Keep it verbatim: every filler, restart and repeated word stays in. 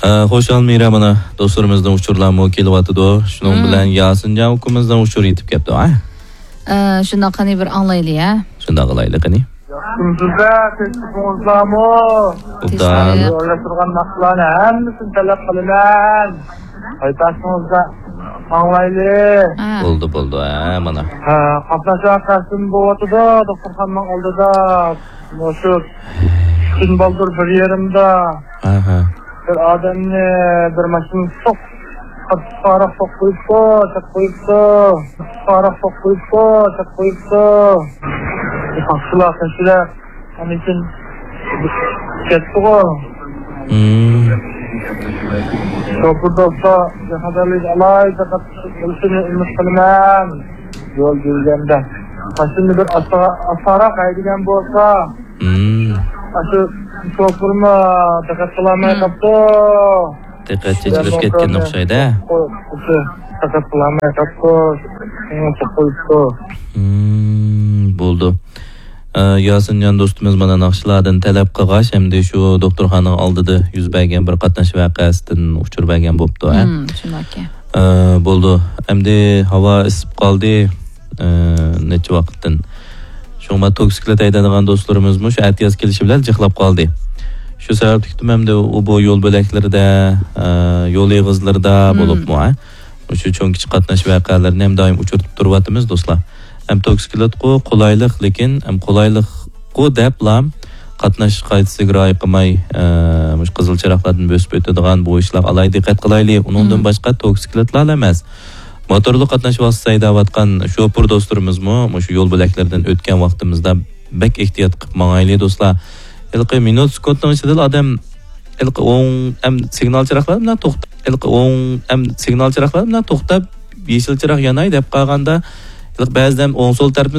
ئە، خۇشال مىرا، مانا دوستلىرىمىزنىڭ ئۇچۇرلارمۇ كېلىۋاتىدۇ. شۇنىڭ مم. بىلەن ياسىنجان ئۇكىمىزنىڭ ئۇچۇرى يېتىپ كەپتۇ، ھە؟ ئە، شۇنداق، قېنى بىر ئاڭلايلى، ھە؟ شۇنداق قىلايلى، قېنى. ياخشىمسىزلەر، تىنچلىقىڭىزلارمۇ؟ ئوبدان. تىنچلىق. يوللاشتۇرغان ناخشىلارنى ھەممىسىنى تەلەپ قىلىمەن. ھايپاسىڭىزدا ئاڭلايلى. ھە. بولدى، بولدى، ھە، مانا. ھە، قاتناش ۋەقەسىمۇ بولۇۋاتىدۇ، دوختۇرخانىنىڭ ئالدىدا. مۇشۇ كۈن بالدۇر بىر يېرىمدا ئاھا. بىر ئادەمنى بىر ماشىنا سوق-، قاتتىق سوقۇپ قويۇپتۇ، چېقىپ قويۇپتۇ. قاتتىق سوقۇپ قويۇپتۇ، چېقىپ قويۇپتۇ. ساقچىلار، قېشىلار ئاندىن كېيىن كەتتىغۇ. مم. شوپۇر دوستلار، بىخەتەرلىك ئالاھىدە دىققەت قىلىشىنى ئۈمىد قىلىمەن. يول يۈرگەندە ماشىنىنى بىر ئاستا-، ئاستاراق ھەيدىگەن بولسا، مم. ئاشۇ شوپۇرمۇ دىققەت قىلالماي مم. قاپتۇ. دىققەت چېچىلىپ كەتكەن ئوخشايدۇ. دىققەت قىلالماي قاپتۇ. شۇڭا قويۇپتۇ. مم، بولدى. ئە، ياسىنجان دوستىمىز مانا ناخشىلاردىن تەلەپ قىلغاچ، ئەمدى شۇ دوختۇرخانىنىڭ ئالدىدا يۈز بەرگەن بىر قاتناش ۋەقەسىدىن ئۇچۇر بەرگەن بوپتۇ، ھە؟ مم، شۇنداككەن. ئە، بولدى. ئەمدى ھاۋا ئىسسىپ قالدى. ئە، نەچچە ۋاقىتتىن. شۇڭا توكسىكلىت ھەيدەيدىغان دوستلىرىمىزمۇ شۇ ئەتىياز كېلىشى بىلەن جىقلاپ قالدى. شۇ سەۋەبلىكتىن ئەمدى ئۇ بۇ يول بۆلەكلىرىدە، ئە، يول ئېغىزلىرىدا مم. بولۇپمۇ، ھە؟ مۇشۇ چوڭ كىچىك قاتناش ۋەقەلىرىنى ھەم دائىم ئۇچرىتىپ تۇرۇۋاتىمىز، دوستلار. ھەم توكسىكلىتقۇ قولايلىق، لېكىن ھەم قولايلىققۇ دەپلا قاتناش قائىدىسىگە رىئايە قىلماي، ئە، مۇشۇ قىزىل چىراغلاردىن بۆسۈپ ئۆتىدىغان بۇ ئىشلارغا ئالاھىدە دىققەت قىلايلى. ئۇنىڭدىن مم. باشقا توكسىكلىتلار ئەمەس، موتورلۇق قاتناش ۋاسىتىسى ھەيدەۋاتقان شوپۇر دوستلىرىمىزمۇ مۇشۇ يول بۆلەكلىرىدىن ئۆتكەن ۋاقتىمىزدا بەك ئېھتىيات قىلىپ ماڭايلى، دوستلار. ھېلىقى مىنۇت سېكۇنتنىڭ ئىچىدىلا ئادەم ھېلىقى ئوڭ، ئەم، سىگنال چىراغلار بىلەن توختا-، ھېلىقى ئوڭ، ئەم، سىگنال چىراغلار بىلەن توختاپ، يېشىل چىراغ ياناي دەپ قالغاندا، ھېلىقى بەزىدە ئوڭ سول تەرىپىمىز